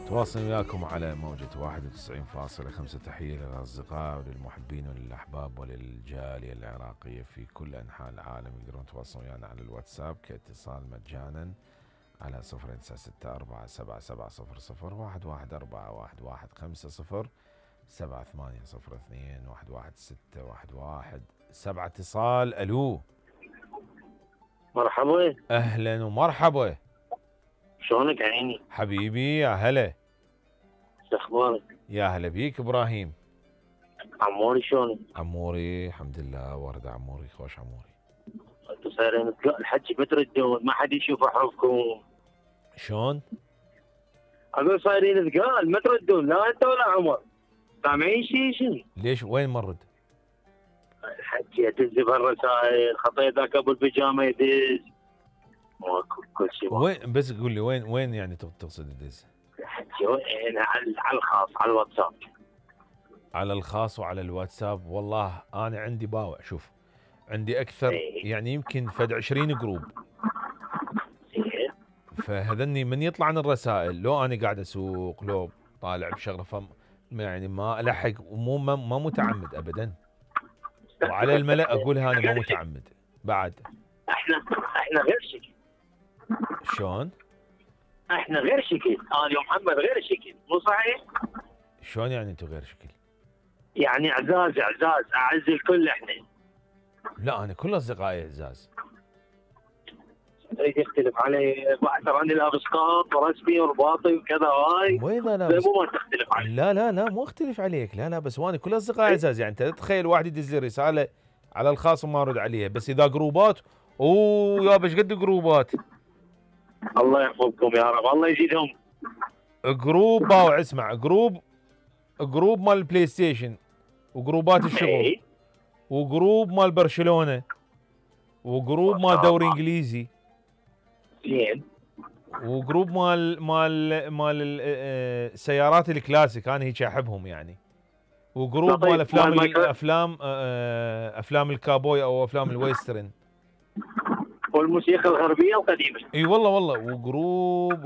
تواصل وياكم على موجة 91.5. تحية للأصدقاء وللمحبين وللأحباب وللجالية العراقية في كل أنحاء العالم. يقدرون يتواصلون ويانا على الواتساب كاتصال مجانا على 0964 7 اتصال. ألو مرحبا. أهلا ومرحبا. شلونك عيني حبيبي يا هلا. شو اخبارك؟ يا هلا بيك إبراهيم. عموري شلونك؟ عموري الحمد لله. ورد عموري خوش عموري. انتو صايرين الحكي بتردون ما حد يشوف حروفكم. شلون؟ اقول صايرين ثقال ما تردون لا انت ولا عمر. سامعين شنو؟ ليش وين مرد؟ الحكي ادز بالرسائل خطيه ذاك ابو البيجامه يدز ماكو كل شيء. وين بس قول لي وين يعني تقصد تدز؟ الحكي وين على الخاص على الواتساب. على الخاص وعلى الواتساب. والله انا عندي باوع. شوف عندي اكثر يعني يمكن فد 20 جروب. فهذني من يطلع عن الرسائل لو انا قاعد اسوق لو طالع بشغله يعني ما الحق ومو ما متعمد ابدا. وعلى الملأ اقولها انا ما متعمد بعد. احنا غير شكل. شلون؟ احنا غير شكل. انا ومحمد غير شكل مو صحيح؟ شلون يعني انتم غير شكل؟ يعني اعزاز اعز الكل احنا. لا انا كل اصدقائي اعزاز. تريد يختلف علي ترى اني لابس قاط ورسمي ورباطي وكذا هاي. وين انا مو ما تختلف علي. لا مو اختلف عليك. لا بس وانا كل اصدقائي اعزاز. يعني انت تتخيل واحد يدز لي رساله على الخاص وما ارد عليها. بس اذا جروبات يا ايش قد جروبات. الله يحفظكم يا رب الله يزيدهم. جروب باوع اسمع جروب مال البلاي ستيشن وجروبات الشغل وجروب مال برشلونه وجروب مال دوري انجليزي زين وجروب مال السيارات الكلاسيك انا هيك احبهم يعني. وجروب مال افلام الكابوي او افلام الويسترن والموسيقى الغربيه القديمه. اي والله وجروب